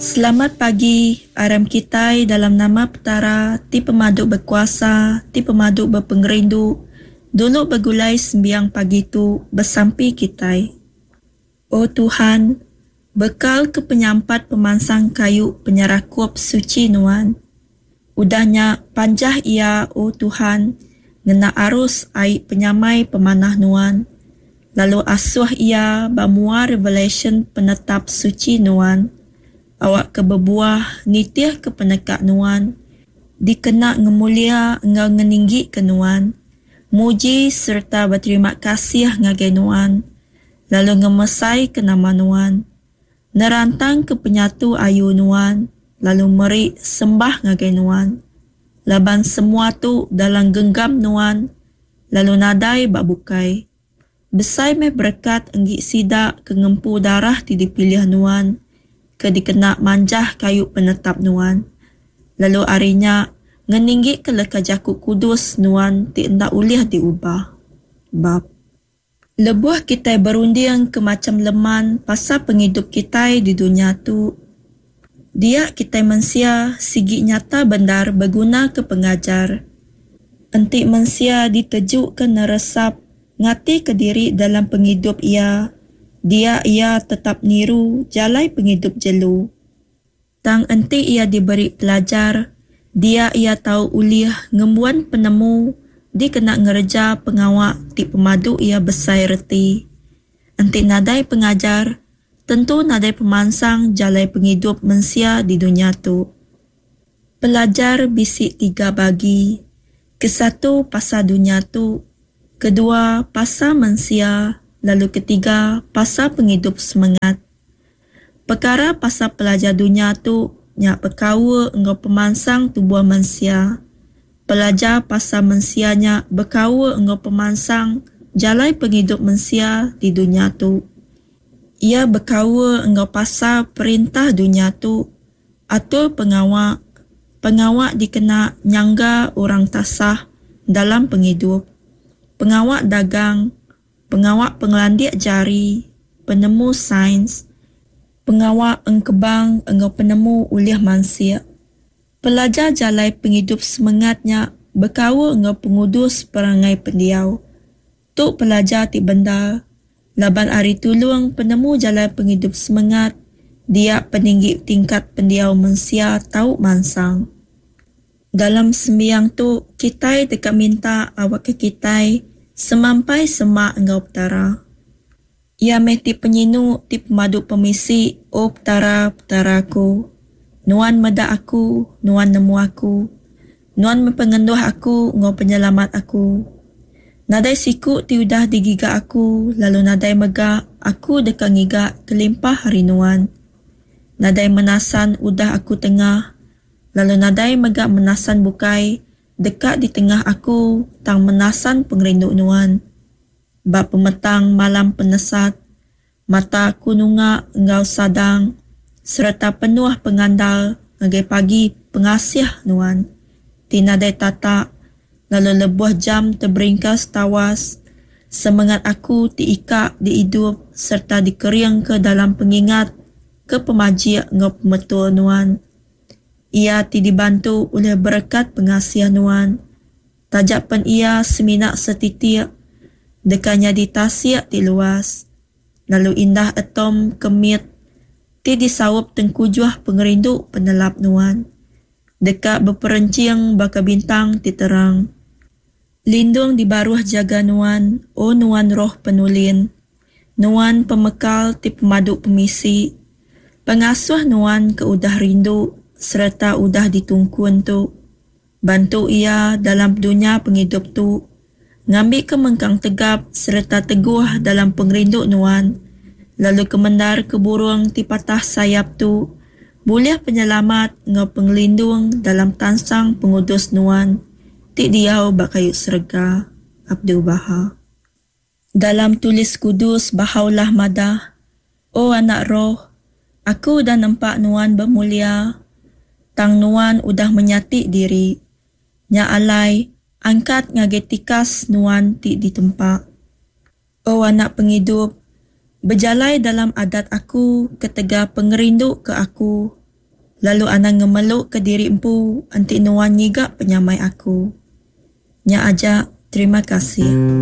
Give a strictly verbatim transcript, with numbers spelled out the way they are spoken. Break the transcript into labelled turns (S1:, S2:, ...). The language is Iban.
S1: Selamat pagi, aram kitai dalam nama Petara ti pemadu bekuasa, ti pemadu bepengerindu, dulu begulai sembiang pagi tu besampi kitai. O Tuhan, bekal ke penyampat pemansang kayu penyerakup suchi Nuan. Udah nya panjah iya, O Tuhan, ngena arus ai penyamai pemanah Nuan, lalu asuh iya ba mua revelasyen penetap suchi Nuan, awakka bebuah nitihka peneka Nuan, dikena ngemulia enggau ngeninggika Nuan, muji sereta beterima kasih ngagai Nuan, lalu ngemesaika nama Nuan, nerantangka penyatu ayu Nuan, lalu meri sembah ngagai Nuan, laban semua tu dalam genggam Nuan, lalu nadai ba bukai. Besai meh berekat enggi sida ke ngempu darah ti dipilih Nuan, ke dikena manjah kayu penetap Nuan, lalu ari nya ngeninggika leka jaku kudus Nuan ti enda ulih diubah. Bab. Lebuh kitai berunding ke macham leman pasal pengidup kitai di dunya tu, dia kitai mensia sigi nyata bendar begunaka pengajar. Enti mensia ditejuka neresap ngatika diri dalam pengidup iya, dia iya tetap niru jalai pengidup jelu. Tang enti iya diberi pelajar, dia iya tau ulih ngembuan penemu dikena ngereja pengawa ti pemadu iya besai reti. Enti nadai pengajar, tentu nadai pemansang jalai pengidup mensia di dunya tu. Pelajar bisi tiga bagi, kesatu pasal dunya tu, kedua pasal mensia lalu ketiga pasal pengidup semengat. Pekara pasal pelajar dunya tu nya bekaul enggau pemansang tubuh mensia. Pelajar pasal mensia nya bekaul enggau pemansang jalai pengidup mensia di dunya tu. Iya bekaul enggau pasal perintah dunya tu, atur pengawa, pengawa dikena nyangga orang tasah dalam pengidup, pengawa dagang, pengawa pengelandik jari, penemu sains, pengawa engkebang enggau penemu ulih mansik. Pelajar jalai pengidup semengat nya bekaul enggau pengudus perangai pendiau. Tu pelajar ti bendar, laban ari tulung penemu jalai pengidup semengat, dia peninggi tingkat pendiau mensia tau mansang. Dalam sembiang tu, kitai deka minta awakka kitai semampai semak enggau Petara. Iya meh ti penyinu ti pemadu pemisi, O Petara, Petara aku. Nuan meda aku, Nuan nemu aku. Nuan meh pengenduh aku enggau penyelamat aku. Nadai siku ti udah digiga aku lalu nadai mega aku deka ngiga kelimpah ari Nuan. Nadai menasan udah aku tengah lalu nadai mega menasan bukai deka ditengah aku tang menasan pengerindu Nuan. Ba pemetang malam penesat, mata aku nunga enggau sadang sereta penuh pengandal ngagai pagi pengasih Nuan ti nadai tatak lalu lebuh jam teberingkas tawas, semengat aku ti ikak diidup sereta dikeringka dalam pengingat ke pemajik enggau pemetul Nuan. Iya ti dibantu ulih berekat pengasih Nuan, taja pen iya semina setitik, deka nyadi tasik ti luas, lalu indah atom ke mit ti disaup tengkujuh pengerindu penelap Nuan, deka beperenching baka bintang ti terang. Lindung di baruh jaga Nuan, O Nuan Roh Penulin, Nuan pemekal ti pemadu pemisi, pengasuh Nuan ke udah rindu sereta udah ditungkun tu. Bantu iya dalam dunya pengidup tu, ngambika mengkang tegap sereta teguh dalam pengerindu Nuan, lalu kemendar ke burung ti patah sayap tu bulih penyelamat enggau pengelindung dalam tansang pengudus Nuan ti diau ba kayu serega. Abdu'l-Baha. Dalam tulis kudus Baha'u'llah madah, O anak roh, aku udah nempa nuan bemulia, tang nuan udah menyati diri. Nya alai, angkat ngagai tikas nuan ti ditempa. O anak pengidup, bejalai dalam adat aku ketegal pengerindu ke aku, Lalu anang ngemelu ke diri empu enti nuan ngiga penyamai aku. Nya aja, terima kasih.